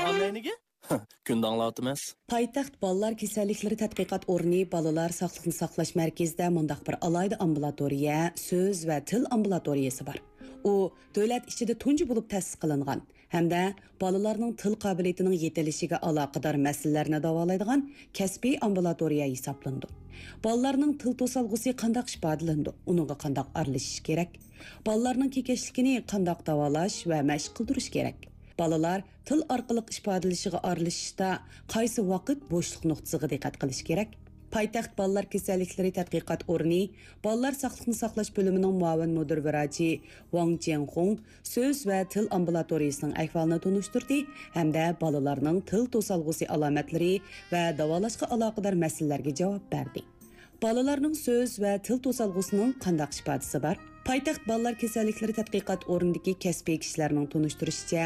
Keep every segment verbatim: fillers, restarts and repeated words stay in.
ئامەينىگە كۈندە ئاڭلاۋاتىمىز. پايتەخت بالىلار كېسەللىكلىرى تەتقىقات ئورنى بالىلار ساقلىقنى ساقلاش مەركىزىدە مۇنداق بىر ئالاھىدە ئامبۇلاتورىيە، سۆز ۋە تىل ئامبۇلاتورىيەسى بار. ئۇ دۆلەت ئىچىدە تۇنجى بولۇپ تەسىس قىلىنغان ھەمدە بالىلارنىڭ تىل قابىلىيىتىنىڭ يېتىلىشىگە ئالاقىدار مەسىلىلەرنى داۋالايدىغان كەسپىي ئامبۇلاتورىيە ھېسابلىنىدۇ. بالىلارنىڭ تىل توسالغۇسى قانداق ئىپادىلىنىدۇ؟ ئۇنىڭغا قانداق ئارىلىشىش كېرەك؟ بالىلارنىڭ كېكەچلىكىنى قانداق داۋالاش ۋە مەشىق قىلدۇرۇش كېرەك؟ بالىلار تىل ئارقىلىق ئىپادىلىشىغا ئارىلىشىشتا قايسى ۋاقىت بوشلۇق نۇقتىسىغا دىققەت قىلىش كېرەك؟ پايتەخت بالىلار كېسەللىكلىرى تەتقىقات ئورنى بالىلار ساقلىقنى ساقلاش بۆلۈمىنىڭ مۇئاۋىن مۇدىر ۋىراچى ۋاڭ جيەنخۇڭ سۆز ۋە تىل ئامبۇلاتورىيىسىنىڭ ئەھۋالىنى تونۇشتۇردى ھەمدە بالىلارنىڭ تىل توسالغۇسى ئالامەتلىرى ۋە داۋالاشقا ئالاقىدار مەسىلىلەرگە جاۋاب بەردى. بالىلارنىڭ سۆز ۋە تىل توسالغۇسىنىڭ قانداق ئىپادىسى بار؟ پايتەخت بالىلار كېسەللىكلىرى تەتقىقات ئورنىدىكى كەسپىي كىشىلەرنىڭ تونۇشتۇرۇشىچە،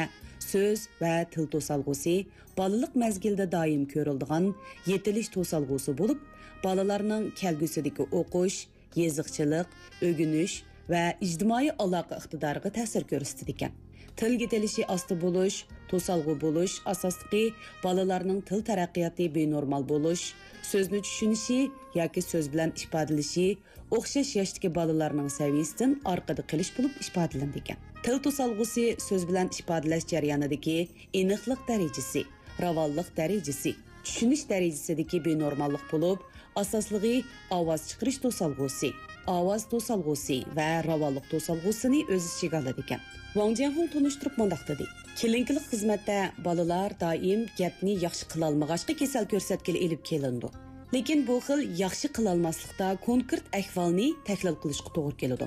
سۆز ۋە تىل توسالغۇسى بالىلىق مەزگىلدە دائىم كۆرۈلىدىغان يېتىلىش توسالغۇسى بولۇپ، بالىلارنىڭ كەلگۈسىدىكى ئوقۇش، يېزىقچىلىق، ئۆگىنىش ۋە ئىجتىمائىي ئالاقە ئىقتىدارىغا تەسىر كۆرسىتىدىكەن. تىل يېتىلىشى ئاستا بولۇش، توسالغۇ بولۇش ئاساسلىقى بالىلارنىڭ تىل تەرەققىياتى بىنورمال بولۇش، سۆزنى چۈشىنىشى ياكى سۆز بىلەن ئىپادىلىشى ئوخشاش ياشتىكى بالىلارنىڭ سەۋىيىسىدىن ئارقىدا قېلىش بولۇپ ئىپادىلىنىدىكەن. تىل توسالغۇسى سۆز بىلەن ئىپادىلەش جەريانىدىكى ئېنىقلىق دەرىجىسى، راۋانلىق دەرىجىسى، چۈشىنىش دەرىجىسىدىكى بىنورماللىق بولۇپ، ئاساسلىقى ئاۋاز چىقىرىش توسالغۇسى، ئاۋاز توسالغۇسى ۋە راۋانلىق توسالغۇسىنى ئۆز ئىچىگە ئالىدىكەن. ۋاڭ جيەنخۇڭ تونۇشتۇرۇپ مۇنداق دېدى، كلىنىكىلىق خىزمەتتە بالىلار دائىم گەپنى ياخشى قىلالمىغاچقا كېسەل كۆرسەتكىلى ئېلىپ كېلىنىدۇ. لېكىن بۇ خىل ياخشى قىلالماسلىقتا كونكرېت ئەھۋالنى تەھلىل قىلىشقا توغرا كېلىدۇ.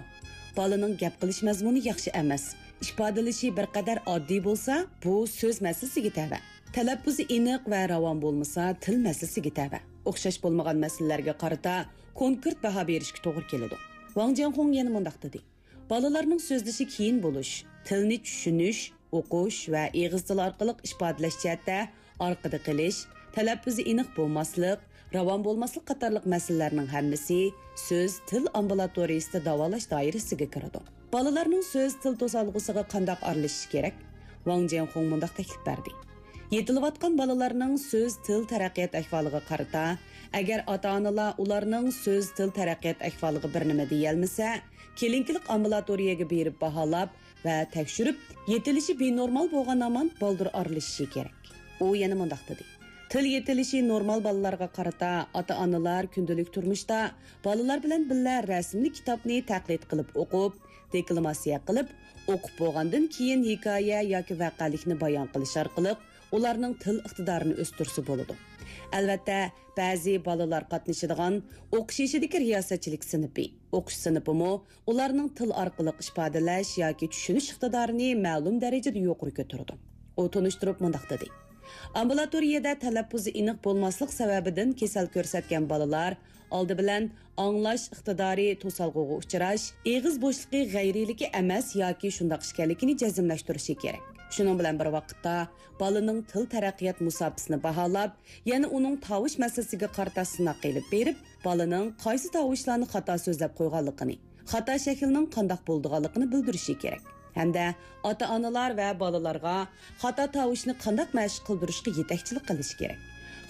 بالىنىڭ گەپ قىلىش مەزمۇنى ياخشى ئەمەس، ئىپادىلىشى بىر قەدەر ئاددىي بولسا، بۇ سۆز مەسىلىسىگە تەۋە. تەلەپپۇزى ئېنىق ۋە راۋان بولمىسا، تىل مەسىلىسىگە تەۋە. ئوخشاش بولمىغان مەسىلىلەرگە قارىتا كونكرېت باھا بېرىشكە توغرا كېلىدۇ. ۋاڭ جيەنخۇڭ يەنە مۇنداق دېدى، بالىلارنىڭ سۆزلىشى قىيىن بولۇش، تىلنى چۈشىنىش، ئوقۇش ۋە ئېغىز تىل ئارقىلىق ئىپادىلەش جەھەتتە ئارقىدا قېلىش، تەلەپپۇزى ئېنىق بولماسلىق، راۋان بولماسلىق قاتارلىق مەسىلىلەرنىڭ ھەممىسى سۆز تىل ئامبۇلاتورىيىسىدا داۋالاش دائىرىسىگە كىرىدۇ. بالىلارنىڭ سۆز تىل توسالغۇسىغا قانداق ئارىلىشىش كېرەك؟ ۋاڭ جيەنخۇڭ مۇنداق تەكلىپ بەردى، يېتىلىۋاتقان بالىلارنىڭ سۆز تىل تەرەققىيات ئەھۋالىغا قارىتا، ئەگەر ئاتا-ئانىلار ئۇلارنىڭ سۆز تىل تەرەققىيات ئەھۋالىغا بىر نېمە دېيەلمىسە، كلىنىكىلىق ئامبۇلاتورىيەگە بېرىپ باھالاپ ۋە تەكشۈرۈپ، يېتىلىشى بىنورمال بولغان ھامان بالدۇر ئارىلىشىشى كېرەك. ئۇ يەنە مۇنداق دېدى، تىل يېتىلىشى نورمال بالىلارغا قارىتا ئاتا-ئانىلار كۈندىلىك تۇرمۇشتا بالىلار بىلەن بىللە رەسىملىك كىتابنى تەقلىد قىلىپ ئوقۇپ، دېكلاماتسىيە قىلىپ، ئوقۇپ بولغاندىن كېيىن ھېكايە ياكى ۋەقەلىكنى بايان قىلىش ئارقىلىق ئۇلارنىڭ تىل ئىقتىدارىنى ئۆستۈرسە بولىدۇ. ئەلۋەتتە، بەزى بالىلار قاتنىشىدىغان ئوقۇش يېشىدىكى رىياسەتچىلىك سىنىپى، ئوقۇش سىنىپىمۇ ئۇلارنىڭ تىل ئارقىلىق ئىپادىلەش ياكى چۈشىنىش ئىقتىدارىنى مەلۇم دەرىجىدە يۇقىرى كۆتۈرىدۇ. ئۇ تونۇشتۇرۇپ مۇنداق دېدى، ئامبۇلاتورىيەدە تەلەپپۇزى ئېنىق بولماسلىق سەۋەبىدىن كېسەل كۆرسەتكەن بالىلار ئالدى بىلەن ئاڭلاش ئىقتىدارى توسالغۇغا ئۇچراش، ئېغىز بوشلۇقى غەيرىيلىكى ئەمەس ياكى شۇنداق ئىكەنلىكىنى جەزملەشتۈرۈشى كېرەك. شۇنىڭ بىلەن بىر ۋاقىتتا، بالىنىڭ تىل تەرەققىيات مۇساپىسىنى باھالاپ، يەنە ئۇنىڭ تاۋۇش مەسىلىسىگە قارىتا سىناق ئېلىپ بېرىپ، بالىنىڭ قايسى تاۋۇشلارنى خاتا سۆزلەپ قويغانلىقىنى، خاتا شەكىلنىڭ قانداق بولىدىغانلىقىنى بىلدۈرۈشى كېرەك. ھەمدە ئاتا-ئانىلار ۋە بالىلارغا خاتا تاۋۇشنى قانداق مەشىق قىلدۇرۇشقا يېتەكچىلىك قىلىشى كېرەك.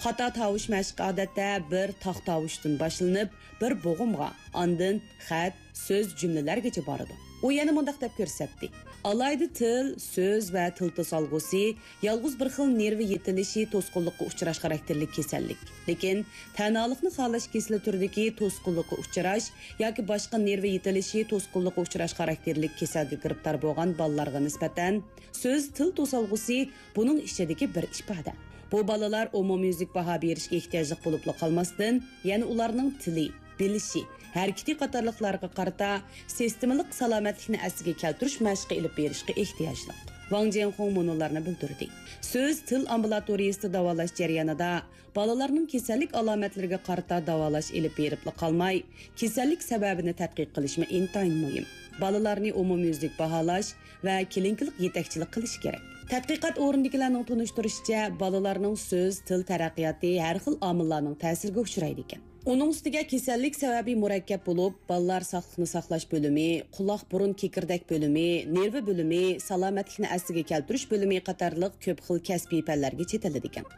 خاتا تاۋۇش مەشقى ئادەتتە بىر تاق تاۋۇشتىن باشلىنىپ، بىر بوغۇمغا، ئاندىن خەت، سۆز، جۈملىلەرگىچە بارىدۇ. ئۇ يەنە مۇنداق دەپ كۆرسەتتى، ئالاھىدە تىل، سۆز ۋە تىل توسالغۇسى يالغۇز بىر خىل نېرۋا يېتىلىشى توسقۇنلۇققا ئۇچراش خاراكتېرلىك كېسەللىك. لېكىن تەنھالىقنى خالاش كېسىلى تۈرىدىكى توسقۇنلۇققا ئۇچراش ياكى باشقا نېرۋا يېتىلىشى توسقۇنلۇققا ئۇچراش خاراكتېرلىك كېسەلگە گىرىپتار بولغان بالىلارغا نىسبەتەن سۆز، تىل توسالغۇسى بۇنىڭ ئىچىدىكى بىر ئىپادە. بۇ بالىلار ئومۇميۈزلۈك باھا بېرىشكە ئېھتىياجلىق بولۇپلا قالماستىن، يەنە ئۇلارنىڭ تىلى، بىلىشى، ھەرىكىتى قاتارلىقلارغا قارىتا سىستېمىلىق سالامەتلىكنى ئەسلىگە كەلتۈرۈش مەشقى ئېلىپ بېرىشقا ئېھتىياجلىق. ۋاڭ جيەنخۇڭ مۇنۇلارنى بىلدۈردى، سۆز، تىل ئامبۇلاتورىيىسىدا داۋالاش جەريانىدا بالىلارنىڭ كېسەللىك ئالامەتلىرىگە قارىتا داۋالاش ئېلىپ بېرىپلا قالماي، كېسەللىك سەۋەبىنى تەتقىق قىلىشمۇ ئىنتايىن مۇھىم. بالىلارنى ئومۇميۈزلۈك باھالاش ۋە كلىنىكىلىق يېتەكچىلىك قىلىش كېرەك. تەتقىقات ئورنىدىكىلەرنىڭ تونۇشتۇرۇشىچە، بالىلارنىڭ سۆز، تىل تەرەققىياتى ھەر خىل ئامىللارنىڭ تەسىرىگە ئۇچرايدىكەن. ئۇنىڭ ئۈستىگە كېسەللىك سەۋەبى مۇرەككەپ بولۇپ، بالىلار ساقلىقنى ساقلاش بۆلۈمى، قۇلاق، بۇرۇن، كېكىردەك بۆلۈمى، نېرۋا بۆلۈمى، سالامەتلىكنى ئەسلىگە كەلتۈرۈش بۆلۈمى قاتارلىق كۆپ خىل كەسپىي پەنلەرگە چېتىلىدىكەن.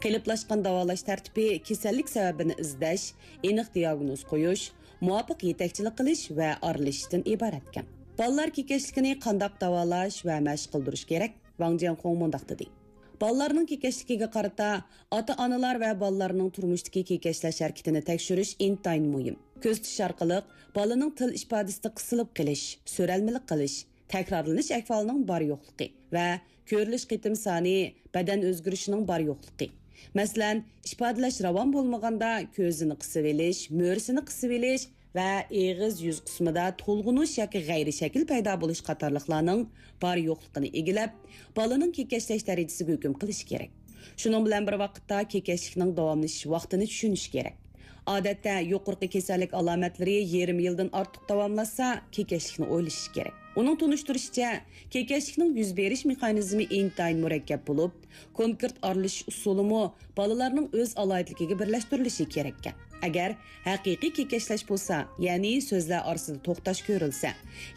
قېلىپلاشقان داۋالاش تەرتىپى كېسەللىك سەۋەبىنى ئىزدەش، ئېنىق دىياگنوز قويۇش، مۇۋاپىق يېتەكچىلىك قىلىش ۋە ئارىلىشىشتىن ئىبارەتكەن. بالىلار كېكەچلىكىنى قانداق داۋالاش ۋە مەشىق قىلدۇرۇش كېرەك؟ ۋاڭ جيەنخۇڭ مۇنداق دېدى. بالىلارنىڭ كېكەچلىكىگە قارىتا ئاتا-ئانىلار ۋە بالىلارنىڭ تۇرمۇشتىكى كېكەچلەش ھەرىكىتىنى تەكشۈرۈش ئىنتايىن مۇھىم. كۆزىتىش ئارقىلىق بالىنىڭ تىل ئىپادىسىدە قىسىلىپ قېلىش، سۆرەلمىلىك قىلىش، تەكرارلىنىش ئەھۋالىنىڭ بار يوقلۇقى ۋە كۆرۈلۈش قېتىم سانى، بەدەن ئۆزگىرىشىنىڭ بار يوقلۇقى. مەسىلەن، ئىپادىلەش راۋان بولمىغاندا كۆزىنى قىسىۋېلىش، مۈرىسىنى قىسىۋېلىش، ۋە ئېغىز يۈز قىسمىدا تولغىنىش ياكى غەيرىي شەكىل پەيدا بولۇش قاتارلىقلارنىڭ بار يوقلۇقىنى ئىگىلەپ، بالىنىڭ كېكەچلەش دەرىجىسىگە ھۆكۈم قىلىش كېرەك. شۇنىڭ بىلەن بىر ۋاقىتتا، كېكەچلىكنىڭ داۋاملىشىش ۋاقتىنى چۈشىنىش كېرەك. ئادەتتە، يۇقىرىقى كېسەللىك ئالامەتلىرى يېرىم يىلدىن ئارتۇق داۋاملاشسا، كېكەچلىكنى ئويلىشىش كېرەك. ئۇنىڭ تونۇشتۇرۇشىچە، كېكەچلىكنىڭ يۈز بېرىش مېخانىزمى ئىنتايىن مۇرەككەپ بولۇپ، كونكرېت ئارىلىشىش ئۇسۇلىمۇ بالىلارنىڭ ئۆز ئالاھىدىلىكىگە بىرلەشتۈرۈلۈشى كېرەككەن. ئەگەر ھەقىقىي كېكەچلەش بولسا، يەنى سۆزلەر ئارىسىدا توختاش كۆرۈلسە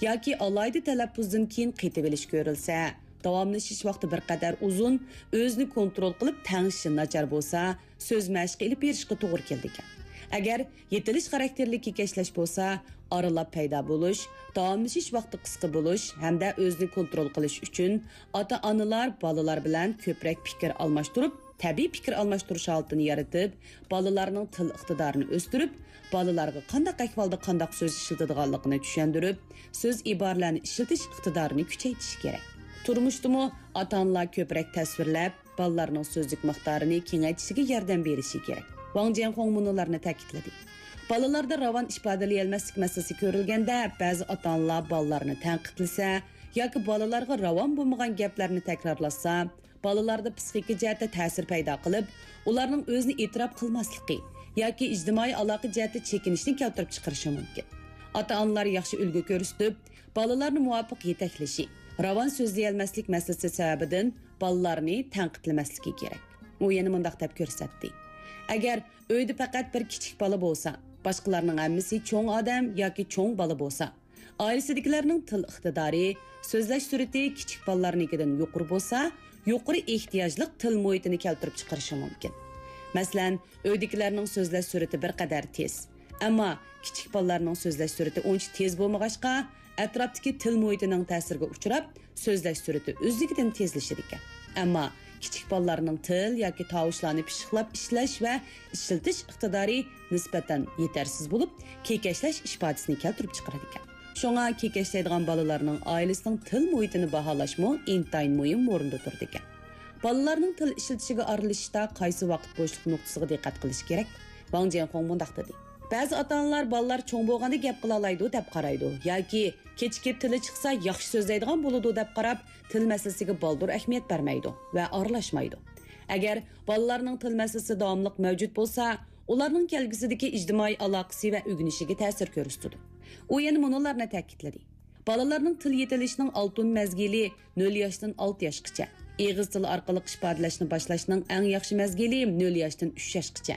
ياكى ئالاھىدە تەلەپپۇزدىن كېيىن قېتىۋېلىش كۆرۈلسە، داۋاملىشىش ۋاقتى بىر قەدەر ئۇزۇن، ئۆزىنى كونترول قىلىپ تەڭشىشى ناچار بولسا، سۆز مەشقى ئېلىپ بېرىشقا توغرا كېلىدىكەن. ئەگەر يېتىلىش خاراكتېرلىك كېكەچلەش بولسا، ئارىلاپ پەيدا بولۇش، داۋاملىشىش ۋاقتى قىسقا بولۇش ھەمدە ئۆزىنى كونترول قىلىش ئۈچۈن ئاتا-ئانىلار بالىلار بىلەن كۆپرەك پىكىر ئالماشتۇرۇپ، تەبىئىي پىكىر ئالماشتۇرۇش ھالىتىنى يارىتىپ، بالىلارنىڭ تىل ئىقتىدارىنى ئۆستۈرۈپ، بالىلارغا قانداق ئەھۋالدا قانداق سۆز ئىشلىتىدىغانلىقىنى چۈشەندۈرۈپ، سۆز ئىبارىلەرنى ئىشلىتىش ئىقتىدارىنى كۈچەيتىش كېرەك. تۇرمۇشتىمۇ ئاتا-ئانىلار كۆپرەك تەسۋىرلەپ، بالىلارنىڭ سۆزلۈك مىقدارىنى كېڭەيتىشىگە ياردەم بېرىشى كېرەك. ۋاڭ جيەنخۇڭ مۇنۇلارنى تەكىتلىدى. بالىلاردا راۋان ئىپادىلىيەلمەسلىك مەسىلىسى كۆرۈلگەندە، بەزى ئاتا-ئانىلار بالىلارنى تەنقىدلىسە ياكى بالىلارغا راۋان بولمىغان گەپلەرنى تەكرارلاتسا، بالىلاردا پىسخىكا جەھەتتە تەسىر پەيدا قىلىپ، ئۇلارنىڭ ئۆزىنى ئېتىراپ قىلماسلىقى ياكى ئىجتىمائىي ئالاقە جەھەتتە چېكىنىشنى كەلتۈرۈپ چىقىرىشى مۇمكىن. ئاتا-ئانىلار ياخشى ئۈلگە كۆرسىتىپ، بالىلارنى مۇۋاپىق يېتەكلىشى، راۋان سۆزلىيەلمەسلىك مەسىلىسى سەۋەبىدىن بالىلارنى تەنقىدلىمەسلىكى كېرەك. ئۇ يەنە مۇنداق دەپ كۆرسەتتى: ئەگەر ئۆيدە پەقەت بىر كىچىك بالا بولسا، باشقىلارنىڭ ھەممىسى چوڭ ئادەم ياكى چوڭ بالا بولسا، ئائىلىسىدىكىلەرنىڭ تىل ئىقتىدارى، سۆزلەش سۈرئىتى كىچىك بالىلارنىڭكىدىن يۇقىرى بولسا، يۇقىرى ئېھتىياجلىق تىل مۇھىتىنى كەلتۈرۈپ چىقىرىشى مۇمكىن. مەسىلەن، ئۆيدىكىلەرنىڭ سۆزلەش سۈرئىتى بىر قەدەر تېز. ئەمما كىچىك بالىلارنىڭ سۆزلەش سۈرئىتى ئۇنچە تېز بولمىغاچقا، ئەتراپتىكى تىل مۇھىتىنىڭ تەسىرىگە ئۇچراپ، سۆزلەش سۈرئىتى ئۆزلۈكىدىن تېزلىشىدىكەن. ئەمما كىچىك بالىلارنىڭ تىل ياكى تاۋۇشلارنى پىششىقلاپ ئىشلەش ۋە ئىشلىتىش ئىقتىدارى نىسبەتەن يېتەرسىز بولۇپ، كېكەچلەش ئىپادىسىنى كەلتۈرۈپ چىقىرىدىكەن. شۇڭا كېكەچلەيدىغان بالىلارنىڭ ئائىلىسىنىڭ تىل مۇھىتىنى باھالاشمۇ ئىنتايىن مۇھىم ئورۇندا تۇرىدىكەن. بالىلارنىڭ تىل ئىشلىتىشىگە ئارىلىشىشتا قايسى ۋاقىت بوشلۇق نۇقتىسىغا دىققەت قىلىش كېرەك؟ ۋاڭ جيەنخۇڭ مۇنداق دېدى: بەزى ئاتا-ئانىلار بالىلار چوڭ بولغاندا گەپ قىلالايدۇ دەپ قارايدۇ ياكى كېچىكىپ تىلى چىقسا ياخشى سۆزلەيدىغان بولىدۇ دەپ قاراپ، تىل مەسىلىسىگە بالدۇر ئەھمىيەت بەرمەيدۇ ۋە ئارىلاشمايدۇ. ئەگەر بالىلارنىڭ تىل مەسىلىسى داۋاملىق مەۋجۇت بولسا، ئۇلارنىڭ كەلگۈسىدىكى ئىجتىمائىي ئالاقىسى ۋە ئۆگىنىشىگە تەسىر كۆرسىتىدۇ. ئۇ يەنە مۇنۇلارنى تەكىتلىدى: بالىلارنىڭ تىل يېتىلىشىنىڭ ئالتۇن مەزگىلى نۆل ياشتىن ئالتە ياشقىچە، ئېغىز تىلى ئارقىلىق ئىپادىلەشنى باشلاشنىڭ ئەڭ ياخشى مەزگىلى نۆل ياشتىن ئۈچ ياشقىچە.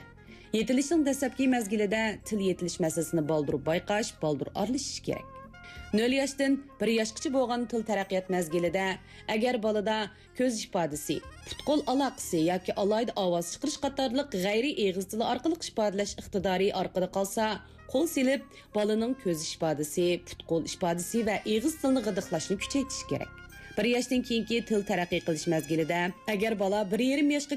يېتىلىشنىڭ دەسلەپكى مەزگىلىدە تىل يېتىلىش مەسىلىسىنى بالدۇر بايقاش، بالدۇر ئارىلىشىش كېرەك. نۆل ياشتىن بىر ياشقىچە بولغان تىل تەرەققىيات مەزگىلىدە، ئەگەر بالىدا كۆز ئىپادىسى، پۇت-قول ئالاقىسى ياكى ئالاھىدە ئاۋاز چىقىرىش قاتارلىق غەيرىي ئېغىز تىلى ئارقىلىق ئىپادىلەش ئىقتىدارى ئارقىدا قالسا، قول سېلىپ، بالىنىڭ كۆز ئىپادىسى، پۇت-قول ئىپادىسى ۋە ئېغىز تىلىنى غىدىقلاشنى كۈچەيتىش كېرەك. بىر ياشتىن كېيىنكى تىل تەرەققىي قىلىش مەزگىلىدە، ئەگەر بالا بىر يېرىم ياشقا